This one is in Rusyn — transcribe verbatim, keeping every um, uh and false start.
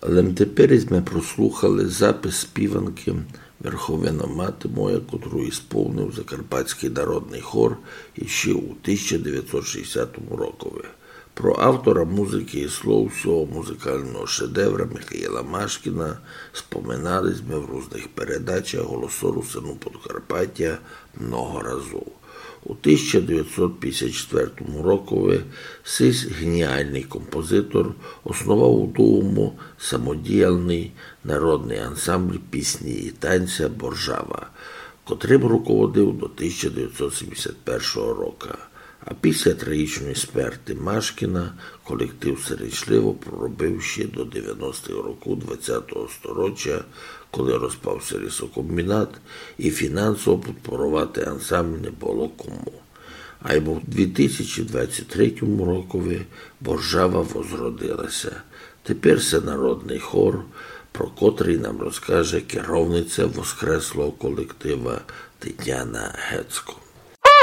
Але теперь сьме прослухали запис співанкы «Верховина мати моя», котру ісполнив Закарпатськый народный хор іщи у тисяча девятьсот шістдесятому рокови. Про автора музыкы і слов сього музыкалного шедевра Михаїла Машкіна споминали сьме в рузных передачах «Голосу Русинув Подкарпатя» много разув. У тисяча девятьсот пятьдесят четвертому рокови сись геніалный композитор основав у Дувому самодіялный народный ансамбль пісні і танця «Боржава», котрым руководив до тисяча девятьсот сімдесят першого рока. А після трагічної смерти Машкіна колектив сиречливо проробив ще до девяностых рокув двадцятого сторіча, коли розпався лісокомбінат і фінансово підпоровати ансамбль не было кому. Айбо в дві тисячі двадцять третьому рокови «Боржава» возродилася. Теперь се народный хор, про котрый нам розкаже керовниця воскреслого колектива Тетяна Гецко.